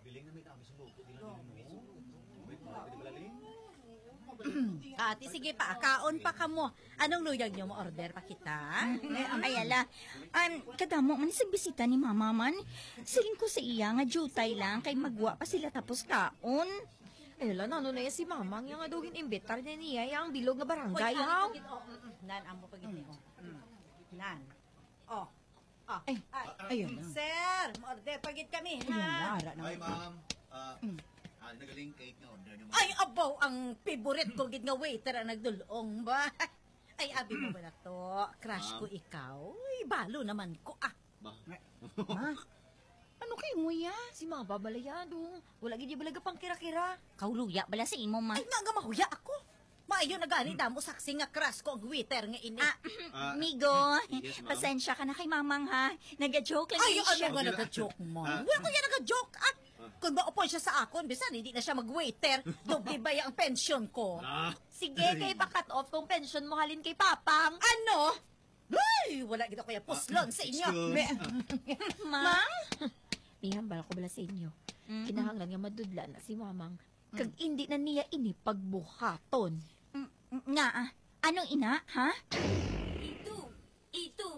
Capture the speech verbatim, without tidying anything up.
Galing na may kami sa luto, di lang yun, no? Wait, pwede pala, Ling? Ate, sige pa, kaon pa kamo. Anong luyag nyo? Mo-order pa kita? Ay, ala. Um, kadamo man sa bisita ni Mama man. Siling ko sa iya nga jutay lang kay magwa pa sila tapos kaon. Ay, ala, nano na yan si Mama nga daw gin-imbitar na niya yang bilog nga barangay, Uy, haw? Ano pa gid? Oh, mm, mm. Nan, amo pa gid ni, oh. Mm. Nan. Oh. Ah, Ay, ay, ayun na. Sir, mo-order pa gid kami, Ayun na, ha? ara na. Hi, ma'am. Ah, Mm. ah, nagaling cake nga order niyo, ma'am. Ay, abaw, ang favorite ko gid nga waiter ang nagdulong ba? Ay, abi mo ba na to? Crush ko Ma'am. ikaw. Ay, balo naman ko, ah. Ba? Ha? Ano kay mo ya? Si mga babalayado. Wala gid balaga pang kira-kira. Kauluya bala sa imo, ma. Ay, nga nga mahuya ako. Maayo na gani damo saksi nga crush ko ang waiter nga ini. Ah, Ah, migo, yes, ma'am. pasensya ka na kay Mamang, ha? Naga-joke lang Ay, ni ano siya. nga Okay lang. naga-joke mo? Ah. Wala ko yan naga-joke. Ah, Ah. kung maupon siya sa akon, bisan hindi na siya mag-waiter, doble ba ang pension ko? Ah. Sige, kay pa-cut off kong pension mo halin kay Papang. Ano? Ay, wala gid ako yung puslon sa inyo. Excuse. Me- Ma? Ma'am? May hambal ko bala sa inyo. Mm-mm. Kinahanglan nga madudla na si Mamang. Kag Mm. hindi na niya ini pagbuhaton. Mm, nga, ah. Anong ina, ha? Ito, ito,